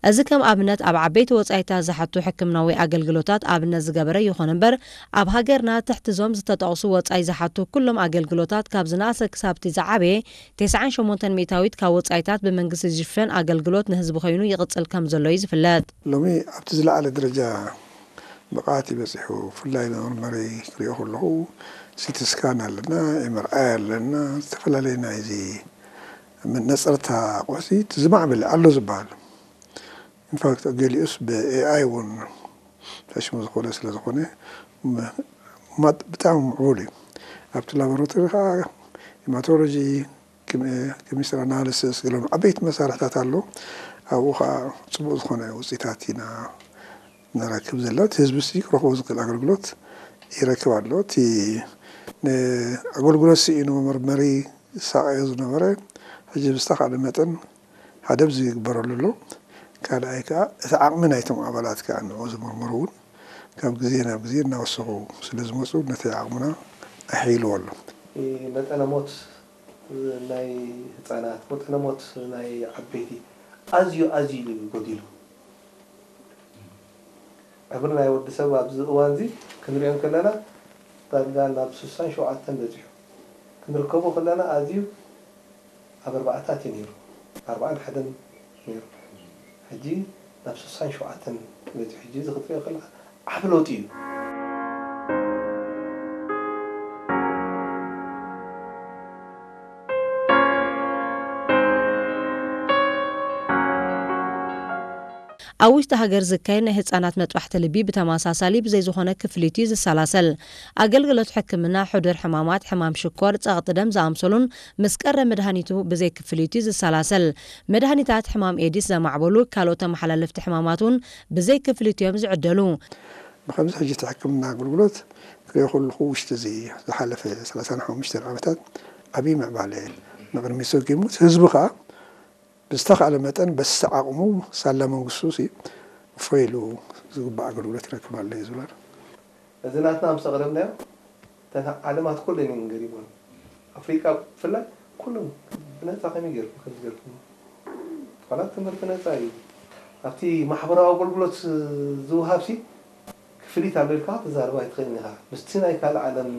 እዚ ከም ኣብነት ኣብ ዓበይቲ ወጻኢታት ዝሓቱ ሕክምናዊ ኣገልግሎታት ኣብነት ዝገበረ ይኹን እምበር፣ ኣብ ሃገርና ትሕቲ እዞም ዝተጠቕሱ ወጻኢ ዝሓቱ ኩሎም ኣገልግሎታት ካብ ዝነኣሰ ክሳብ እቲ ዝዓበየ ተስዓን ሸሞንተን ሚእታዊት ካብ ወጻኢታት ብመንግስቲ ዝሽፈን ኣገልግሎት ንህዝቢ ኮይኑ ይቕጽል ከም ዘሎ እዩ ዝፍለጥ። ሎሚ ኣብቲ ዝለዓለ ደረጃ ብቕዓት እዩ በጺሑ። ብፍላይ መመርመሪ ክሪኦ ከለኹ ሲቲ ስካን ኣለና፣ ኤምኣርኣይ ኣለና፣ ዝተፈላለዩ ናይዚ መነጸርታ ኣቑሑት እቲ ዝማዕበለ ኣሎ ዝበሃል። ኢንፋክት ገሊኡስ ብኤኣይ እውን ፈሽሙ ዝኾነ ስለ ዝኾነ ም- ማጥ ብጣዕሚ ምዕቡል እዩ። ኣብቲ ላቦራቶሪ ከዓ ሄማቶሎጂ፣ ኬሚስትሪ ኣናሊሲስ ገሎም ዓበይቲ መሳርሕታት ኣሎ። ኣብኡ ከዓ ፅቡቅ ዝኾነ ውፅኢታት ኢና ንረክብ ዘለና። እቲ ህዝቢ ሲ ክረክቦ ዝኽእል ኣገልግሎት ይረክብ ኣሎ። እቲ ንኣገልግሎት ስኢኑ መመርመሪ ዝሳቀዮ ዝነበረ ሕጂ ብዝተኻእለ መጠን ሓደ ኣብዚ ይግበረሉ ኣሎ። ካልኣይ ከዓ እቲ ዓቕሚ ናይቶም ኣባላት ከዓ ንዑ ዝምርምሩ እውን ካብ ግዜ ናብ ግዜ እናወሰኹ ስለ ዝመፁ ነቲ ዓቕምና ኣሕይልዎ ኣሎ። መጠነ ሞት ናይ ህፃናት፣ መጠነ ሞት ናይ ዓበይቲ ኣዝዩ ኣዝዩ እዩ ጎዲሉ። ዕብሪ ናይ ወዲ ሰብ ኣብዚ እዋን እዚ ክንሪኦ ከለና ዳርጋ ናብ ስሳን ሸውዓተን በፂሑ ክንርከቦ ከለና ኣዝዩ ኣብ ኣርባዕታት እዩ ነይሩ፣ ኣርባዓን ሓደን ነይሩ። ሕጂ ናብ ስሳን ሸውዓተን በፂሑ። ሕጂ እዚ ክትሪኦ ከለካ ዓብ ለውጢ እዩ። ኣብ ውሽጢ ሃገር ዝካየድ ናይ ህጻናት መጥባሕቲ ልቢ ብተመሳሳሊ ብዘይ ዝኾነ ክፍሊት እዩ ዝሰላሰል። ኣገልግሎት ሕክምና ሕዱር ሕማማት፣ ሕማም ሽኮር፣ ጸቕጢ ደም ዝኣምሰሉን ምስ ቀረ መድሃኒቱ ብዘይ ክፍሊት እዩ ዝሰላሰል። መድሃኒታት ሕማም ኤዲስ ዘማዕበሉ ካልኦት ተመሓላለፍቲ ሕማማት እውን ብዘይ ክፍሊት እዮም ዝዕደሉ። ብኸምዚ ሕጂ እቲ ሕክምና ኣገልግሎት ክሪኦ ከለኹ ውሽጢ እዚ ዝሓለፈ ሰላሳን ሓሙሽተን ዓመታት ዓብዪ ምዕባለ ንቕድሚት ሰጊሙ፣ ህዝቢ ከዓ ብዝተኻእለ መጠን በቲ ዓቕሙ ሳላ መንግስቱ ሲ እፎይ ኢሉ ዝግባእ ኣገልግሎት ይረክብ ኣሎ እዩ ዝብላ። እዚ ናትና ምስ ኣቕረብናዮ እተን ዓለማት ኩለን እየን ገሪሞን። ኣፍሪቃ ብፍላይ ኩሎም ብነፃ ከመይ ገይርኩም ከምዚ ገይርኩም? ዋላ ትምህርቲ ነፃ እዩ። ኣብቲ ማሕበራዊ ኣገልግሎት ዝወሃብ ሲ ክፍሊት ኣሎ ኢልካ ክትዛረብ ኣይትኽእልን ኢኻ። ምስቲ ናይ ካልእ ዓለም